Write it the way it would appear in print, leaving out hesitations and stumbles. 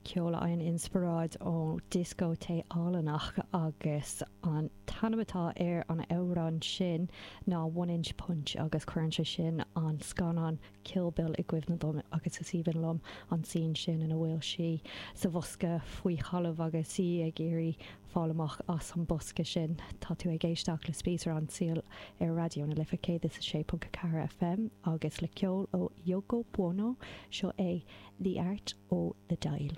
ceol a fhaigheann inspioráid ó dioscó tae álainn agus an t-ainm atá ar an amhrán sin ná One Inch Punch agus cuireann sé sin an scannán Kill Bill i gcuimhne dom agus is aoibhinn liom an scene sin ina bhfuil sí sa bhosca faoi thalamh agus í ag iarraidh fáil amach as an bosca sin. Tá tú ag éisteacht le Spíosra an tSaoil ar Raidió na Life 106.4 FM agus le ceol ó Yoko Buono, seo é The Art o' the Dial.